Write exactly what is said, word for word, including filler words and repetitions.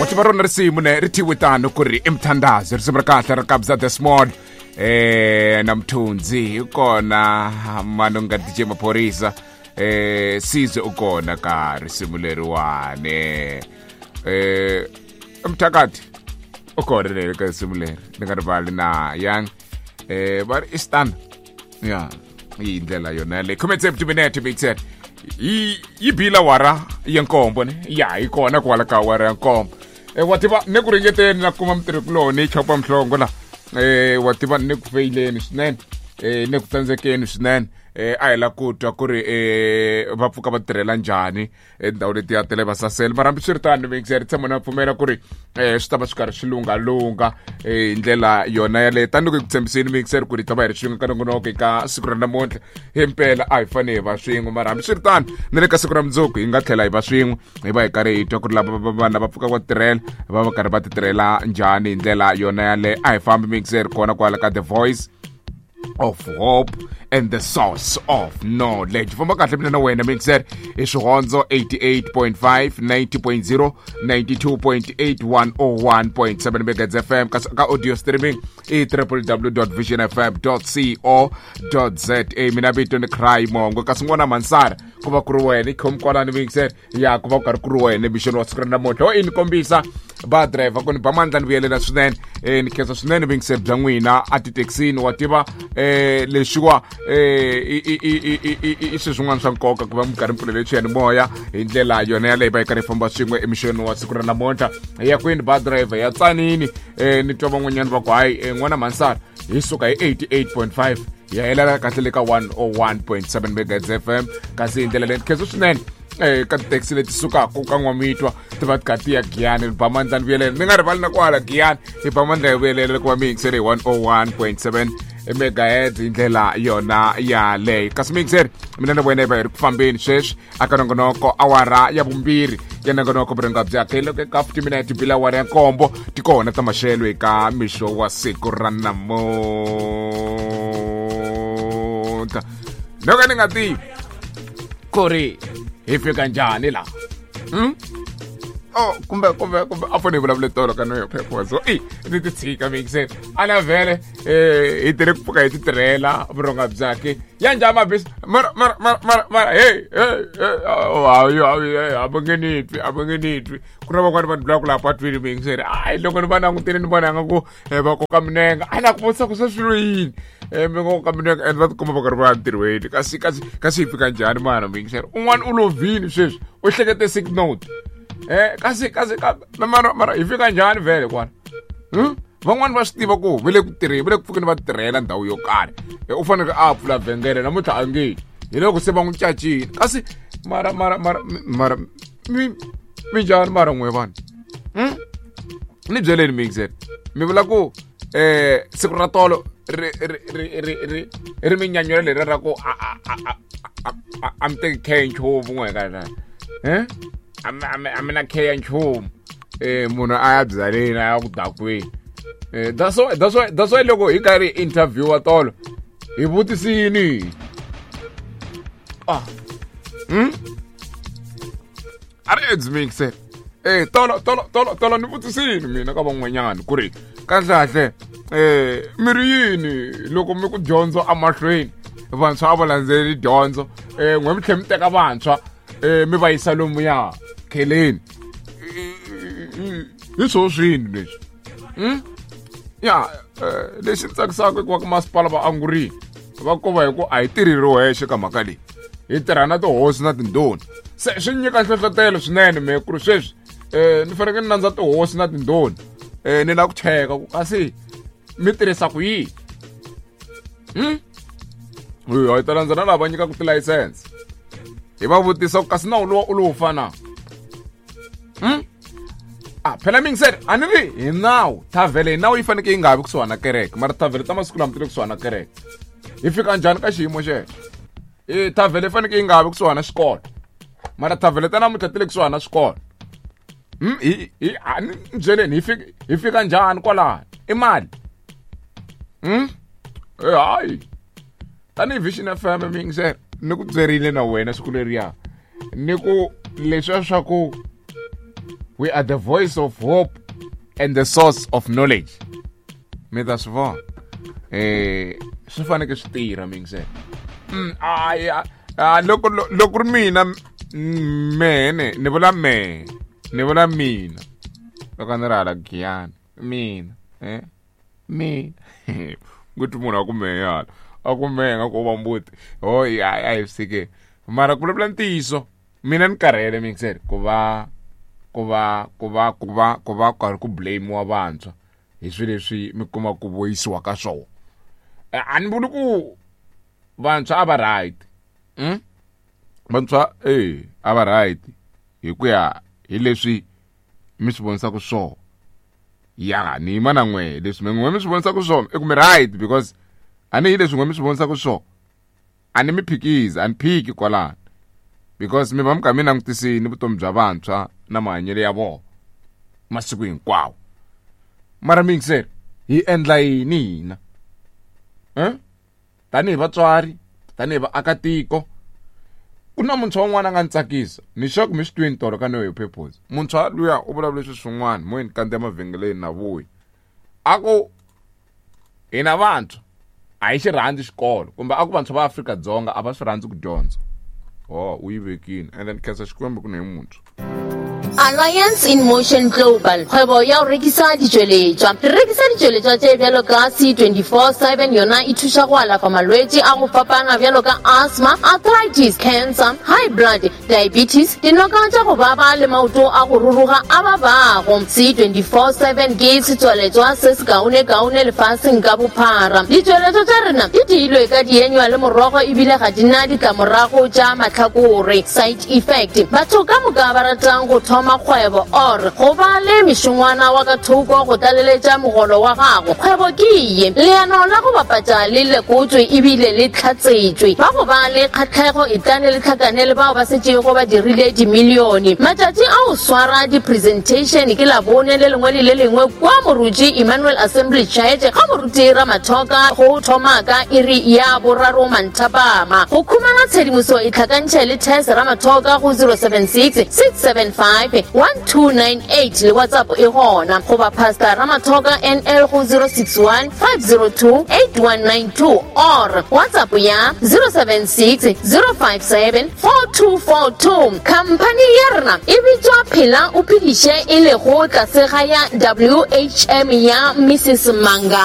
Wa tiva rona risimu ne ri thyiwe tano ku ri i mthandazo, risimu ra kahle ra Kabza De Small eh na Mthunzi hi kona Manonga D J Maphorisa eh Sizwe u kona ka risimu leriwani eh Mthakati u kona le ka risimu leri ni nga rivali na Young eh va ri i stan ya hi ndlela yona yaleyo khume tsevu timinete mixer yi yi bila wara ya nkombo ne ya hi kona kwala ka wara ya nkombo eh wa tiva ni ku ringeteni na kuma mutirhikuloni chopa mhlongo la eh wa tiva ni ku feyileni swinene eh ni ku tsandzekeni swinene eh a hi la ku twa ku ri eh va pfuka va tirhela njhani endhawu leti ya tele vasasele mara hambiswiritano mixer tshama na pfumela ku ri eh swi ta va swi karhi swi lunghalungha eh hi ndlela yona yaleyo tanihiloko hi ku tshembiseni mixer ku ri ta va hi ri swin'we ka nongonoko eka siku ra namuntlha himpela a hi fanele hi va swin'we mara hambiswiritano na le ka siku ra mundzuku hi nga tlhela hi va swin'we hi va hi karhi hi twa ku ri lava vanhu lava pfukaka va tirhela va va karhi va ti tirhela njhani hi ndlela yona yaleyo a hi fambi mixer kona kwala ka The Voice of Hope and the Source of Knowledge. Famba kahle mina na wena mixer i Swihondzo eighty-eight point five, ninety point zero, ninety-two point eight, one oh one point seven megahertz F M ka ka audio streaming i w w w dot vision f m dot co dot z a. Mina vito ni Cry Mongo kasi n'wana Mansara ku va ku ri wena i khomi kwalani mixer ya ku va ku karhi ku ri wena mixini wa siku ra namuntlha ho i ni kombisa ba driver ku ni ba mandla ni vuyelela swinene eh ni khensa swinene mixer bya n'wina a tithekisini wa tiva eh leswiwa eh i i i i i swilo swin'wana swa nkoka ku va mi karhi mi pfulele xiyanimoya hi ndlela yona yaleyo va yi karhi yi famba swin'we emixini wa siku ra namuntlha hi ya kwini ba driver ya tsanini eh ni twa van'wanyana va ku hayi n'wana Mansara hi suka hi eighty-eight point five ya helela kahle le ka one oh one point seven megahertz F M kasi hi ndlela leyi khensa swinene eh ka tithekisi leti sukaka ka N'wamitwa ti va ti karhi ti ya Giyani ni ba mandla ni vuyelela ni nga rivali na kwala Giyani hi ba mandla hi vuyelela ku va mi yingisele hi one oh one point seven megahertz hi ndlela yona yaleyo kasi mixer mina na wena hi va hi ri ku fambeni sweswi aka nongonoko awara ya vumbirhi ya nongonoko vuringa bya loko ka fifty minutes bila awara ya nkombo ti kona ta maxelo eka mixo wa siku ra namuntlha loko ni nga tivi ku ri hi fika njhani laha hmm? Oh, kumbe kumbe kumbe a fanele vulavule tolo ka noyo phepha so i ni ti tshika mixer ana vhele eh hi tirhe ku pfuka hi ti tirhela vurhonga byakhe ya njhani mabisi mara mara mara mara mara hey hey hayi hayi a va nge ni twi a va nge ni twi ku na van'wani vanhu vulaka laha patwini mixer hayi loko ni va langutile ni vona nga ku va koka minenga a na ku vutisa ku se swilo yini eh mi ngo koka minenga and va tikuma va karhi va ya ntirhweni kasi kasi kasi hi fika njhani mana mixer un'wana u lovini sweswi u hlekete sick note eh kasi kasi mara mara hi fika njhani vhele kwala hmm van'wani va swi tiva ku va le ku tirheni va le ku pfukeni va tirhela ndhawu yo karhi u fanele a pfula vhengele namuntlha a nge hi loko se va n'wi cacile kasi mara mara mara mara mi mi njhani mara n'we vanhu hmm ni byeleni mixer mi vula ku eh siku ra tolo ri ri ri ri ri ri minyanyula leri ra ku a a a a a mi teki khe nchumu n'we ka eh a mi na khe ya nchumu eh munhu a ya byaleni a ya ku dakweni eh that's why that's why that's why loko hi karhi interview wa tolo hi vutisini ah hmm a ri edzi mixer eh tolo tolo tolo tolo ni vutisini mina ka van'wanyana ku ri kahle eh mi ri yini loko mi ku dyondzo emahlweni vantshwa a va landzeleli dyondzo eh n'we mi tlhela mi teka vantshwa eh mi va yisa lomuya kheleni hi swo swini leswi hmm ya lexi tsakisaka i ku va ka masipala va angurile va kova hi ku a hi tirhi ri wexe ka mhaka leyi hi tirha na tihosi na tindhuna se swi nyika nhlohlotelo swinene me ku ri sweswi um ni fanekele ni landza tihosi na tindhuna um ni lava ku cheka ku kasi mi tirhisa ku yini hmm hi ta landza na lava nyikaka tilayisense hi va vutisa ku kasi nawu lowa u lowu fana hmm ah phela mingiseri a ni ri hi nawu thavhele hi nawu yi fanekele yi nga vi kusuhana kereke mara thavhele ta masiku lama ti le kusuhana kereke hi fika njhani ka xiyimo xexo e thavhele yi fanekele yi nga vi kusuhana xikolo mara thavhele ta namuntlha ti le kusuhana swikolo hmm hi hi a ni byeleni hi fika hi fika njhani kwalano i mali hmm e hayi tanihi Vision F M mingiseri ni ku byerile na wena siku leriya ni ku leswiya swa ku We are the voice of hope and the source of knowledge. Mi ta swi vona eh swi faneke swi tirha mingisela. Mm, a a loko loko ri mina mene ni vula me ni vula mina loko ni ri hala Giyani mina eh mina kuti munhu a ku mehe hala a ku mehe nga ku va mbuti ho a hi sike mara ku vulavula ntiyiso mina ni karhele mingisela ku va ku va ku va ku va ku va karhi ku blame-iwa vantshwa hi swilo leswi mi kuma ku voyisiwa ka swona. A ni vuli ku vantshwa a va right mm? Vantshwa eh a va right hi ku ya hi leswi mi swi vonisaka swona. Ya ni yima na n'we leswi mi n'we mi swi vonisaka swona i ku mi right because a ni hi leswi n'we mi swi vonisaka swona a ni mi phikizi a ni phiki kwalano because mi va mi kha mi langutisini vutomi bya vantshwa na mahanyelo ya vona masiku hinkwawo. Mara mingisela hi endla yini hina eh tanihi vatswari tanihi vaakatiko? Ku na muntshwa wun'wana a nga ni tsakisa ni sure ku mi swi twini tolo ka Know Your Purpose. Muntshwa luya u vulavule swilo swin'wana moyeni kandziya mavhengeleni na vuyi a ku hina vantshwa a hi xi rhandzi xikolo kumbe a ku vantshwa va Afrika-Dzonga a va swi rhandzi ku dyondza. Oh u yi vekile and then khensa Xikwembu ku ni hi muntshwa. Alliance in Motion Global, kgwebo ya go rekisa ditšweletšwa. Re rekisa ditšweletšwa tše bjalo ka C twenty-four seven, yona e thuša go alafa malwetši a go fapana bjalo ka asthma, arthritis, cancer, high blood, diabetes, dinoka tša go baba le maoto a go ruruga a babago. C twenty-four seven ke setswaletšwa se se kaone-kaone lefaseng ka bophara. Ditšweletšwa tša rena di diilwe ka dienywa le morogo ebile ga di na ditlamorago tša mahlakore, side effect. Batho ka moka ba ratang go thoma kgwebo or go ba le mešongwana wa ka thoko go tlaleletša mogolo wa gago, kgwebo ke ye. Leano la go bapatša le lekotswe ebile le tlhatsetšwe. Ba go ba le kgatlhego e tlane le tlhakane le bao ba setšego ba dirile dimilione. Matšatši a go swara di-presentation ke Labone le lengwe le le lengwe kwa Moruti Emmanuel Assembly Church ga Moruti Ramathoka go thoma ka iri ya boraro manthapama. Go khumana tshedimoso e tlhakantšhe le Tess Ramathoka go zero seven six six seven five one two nine eight le WhatsApp e gona goba Pastor Ramathoka N L go zero six one five zero two eight one nine two or WhatsApp ya zero seven six zero five seven four two four two. Khamphani ya rena e bitswa Phela o Phediše e lego tlase ga ya W H M ya Missus Manga.